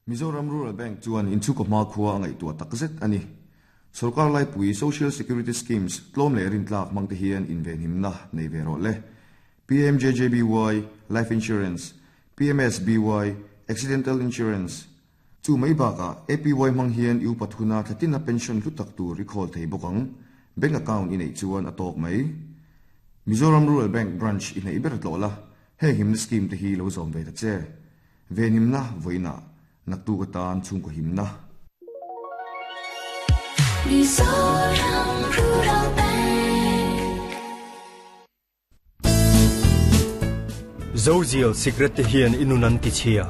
Mizoram Rural Bank chuan inchhungkaw hmakhua a ngaihtuah takzet a ni. Sorkar laipui Social Security Schemes tlawm leh rintlak hmangte hian invenhimna nei ve rawh le. PMJJBY, Life Insurance, PMSBY, Accidental Insurance, Chu mai bakah APY hmang hian i upat huna thlatina pension hlu tak tur i khawl thei bawk ang. Bank account i neih chuan a tawk mai. Mizoram Rural Bank branch i hnaih ber tlawh la, heng himna scheme te hi lo zawm ve ta che. Venhimna vawiinah naktuk atan chhungkaw himna. Mizoram Rural Bank. Zozial sikret te hian i nun an ti chhia.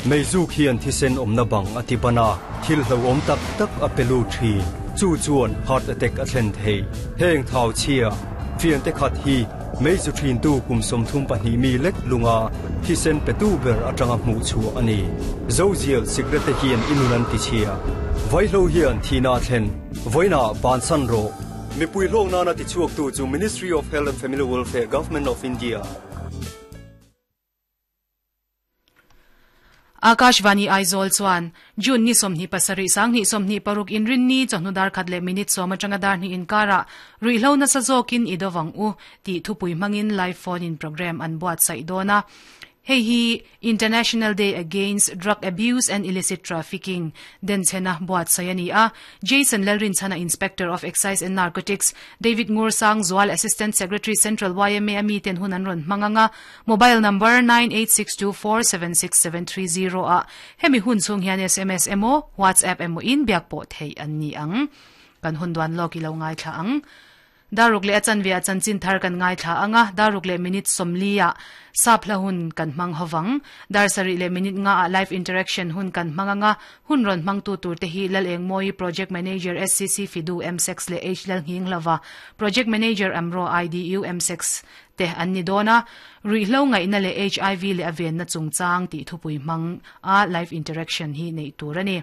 Meizuk hian thisen awmna bang a ti ban a, thil hlauhawm tak tak a pe lut thin. Chu chuan heart attack a thlen thei. Heng thau chhia, fiante khat hi Meizu ṭhintu kum 32 mi lek lunga thisen petu ber aṭanga hmuh chhuah a ni. Zozial sikrete hian i nun an tichhia. Vaihlo hian thihna a thlen. Vawiinah bansan rawh. Mipui hlawk nana tichhuaktu chu Ministry of Health and Family Welfare, Government of India. Akashvani Aizawl chuan June ni 27 2026 Inrinni chawhnu dar khat leh minute sawm atanga dar hnih inkarah ruihhlo nasa zawkin i dovang u tih thupui hmangin live phone in programme an buatsaih dawn a. Hei hi International Day Against Drug Abuse and Illicit Trafficking denchhena buatsaih a ni a. Jason Lalrinchhana Inspector of Excise and Narcotics, David Ngursang Zual Assistant Secretary Central yma a miten hun an rawn hmang ang a. Mobile number 9862476730 ah hemi hun chhung hian sms emaw WhatsApp emaw in biak pawh theih an ni ang. Kan hun duan lawk i lo ngaithla ang. Daruk leh a chanve ah chanchin thar kan ngaithla ang a, daruk leh minute 40 ah sap hla hun kan hmang hovang. Dar sarih leh minute nga ah live interaction hun kan hmang ang a, hun rawn hmangtu tur te hi Lalengmawi Project Manager SCC Fidu M-Sex leh H Lalnghinglova Project Manager Amro IDU M-Sex te an ni dawn a, ruihhlo ngaihna leh hiv leh a venna chungchang tih thupui hmang a live interaction hi neih tur a ni.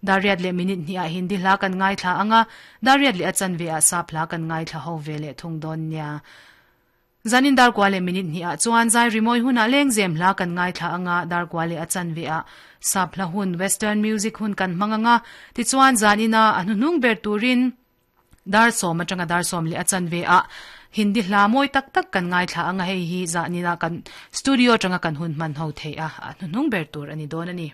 Dariat leh minute hnih ah Hindi hla kan ngaithla ang a, Dariat leh a chanve ah Sap hla kan ngaithla ho ve leh thung dawn nia. Zanin darkua leh minute hnih ah chuan zai rimawi hunah lengzem hla kan ngaithla ang a, darkua leh a chanve ah Sap hla hun, Western music hun kan hmang ang a, tichuan zanin a a hnuhnung ber turin, Dar sawm atanga dar sawm leh a chanve ah Hindi hla mawi tak tak kan ngaithla ang a, hei hi zahnina kan studio atanga kan hun hman ho theih a, a hnuhnung ber tur a ni dawn a ni.